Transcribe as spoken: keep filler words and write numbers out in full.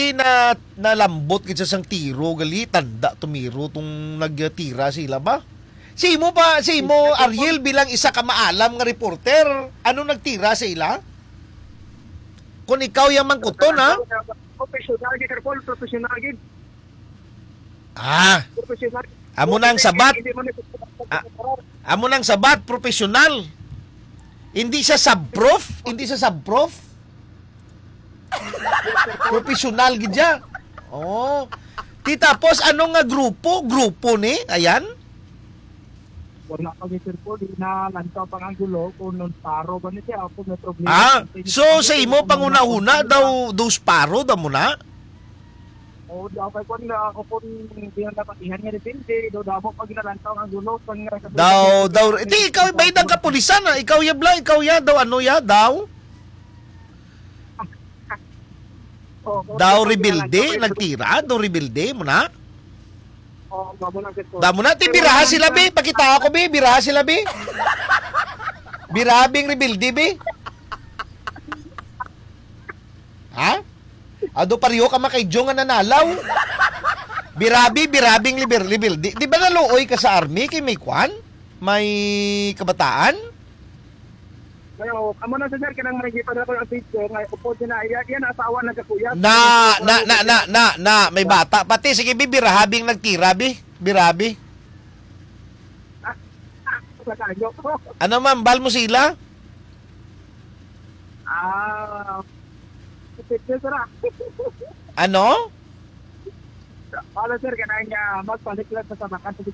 na, nalambot gid sa sang tiro, gali, tanda tumiro tong nagtira sila ba? Si imo pa, si imo, Ariel, bilang isa ka maalam nga reporter, ano nagtira sa ila? Kung ikaw yang mangkuton, ha? Professional gid, Sir Paul, professional gid. Ah, Professional. Amo na ang sabat. Hindi mo na Ah, amo na ang sabat, professional. Hindi siya sub-prof, hindi siya sub-prof. Professional gid siya. Oh. Ti tapos ano nga grupo? Grupo ni? Ayan. Wala pa gid, Sir Paul, di na lantaw pang anggulo kung non paro ba ni siya, kung may problema. Ah, so sa imo panghunahuna daw, dos paro daw mo na? Oo, daw kay kwan nga ako kung di na napatihan nga depende, daw damo pag nalantaw ang gulo, pang nga sa Daw, daw, di ikaw, may nang kapulisan, ah. Ikaw ya, bla, ikaw ya, daw, ano ya, daw? Oo, oo, Daw sige, rebelde, sige. Nagtira, daw rebelde mo na? Oo, mamo lang, sir. Damo na, ti, Pero biraha ang sila, be. Pakita ako, be. Biraha sila, be. Birabing rebelde, be. Ha? Ado pareho ka makay Jong nga nanalaw. Birabi, birabing liber, liber. Di, di ba naluoy ka sa army kay may kwan? May kabataan? Ayo, amo na, sir, kanang may gipadala ko ang picture, nga upod niya na, iya, iya na asawa na kakuyat. Na, na, na, na, na, na, may bata. Pati, sige, bi, birahabing nagtira, bi. Birabi. Ah, ah, sa kanyo. Ano, ma'am, bal mo sila? Ah, sipit, sir, ah. Ano? Wala, sir, kanang, ah, magpalit lang sa sabakan sa